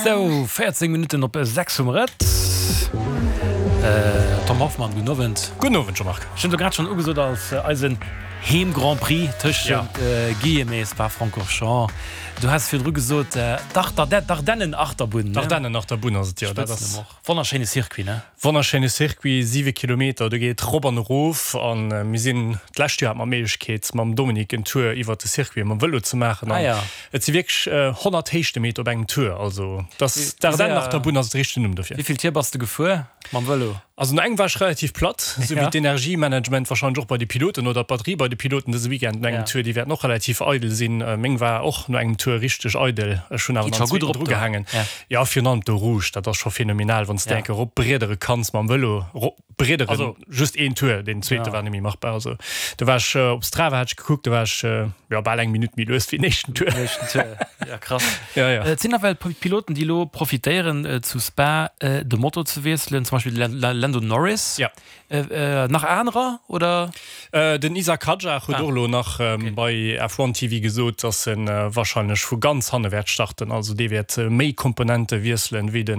Sou, 14 Minutten op 6 hu mer et. Tom Hoffmann, gudden Owend. Gudden Owend, Jean-Marc. Ech hunn et elo grad schonn ugesot als eisen Heem-Grand-Prix tëschent Guillemets, Spa-Francorchamps. Du has virdru gesot, d'Ardennen-Achterbunn, ne? D'Ardennen-Achterbunn ass et, jo. Dat ass. Spëtzen och. Wonnerschéine Circuit, ne? Wonnerschéine Circuit, 7 Kilometer, do geet rop an erof. A mir sinn, d'lescht Joer hat mer d'Méiglechkeet mam Dominique en Tour iwwert de Circuit mam Vëlo ze maachen. An et si wierklech 100 Héichtemeter op engem Tour. Also dass d'Ardennenachterbunn ass de richtegen Numm dofir. Wéi vill Tier bass de gefuer mam Vëlo? Also no engem war ech relativ platt, esou wéi d'Energiemanagement wahrscheinlech och bei de Piloten oder d'Batterie bei de Piloten dëse Weekend no engem Tour, déi wäerten och relativ eidel sinn. Meng war och no engem Tour richteg eidel. Ech hunn awer nach en zweeten drugehaangen. Jo, virun allem d'Eau Rouge, dat ass scho phänomenal, wann s de enke rop briedere kanns mam Vëlo, rop briederen, just een Tour, deen zweete war net méi machbar. Also do war ech op Strava hat ech gekuckt, do war ech jo bal eng Minutt méi lues wéi den éischten Tour. Den éischten Tour, ja krass. Ja, ja. Et sinn nawell Piloten, déi elo profitéieren zu Spa de Motor ze wiesselen, zum Beispill de Lando Norris. Ja. Nach anerer oder? Den Isack Hadjar huet och elo nach bei F1 TV gesot, datt e warscheinlech vu ganz hanne wäert starten. Also dee wäert méi Komponente wiesselen, wéi de.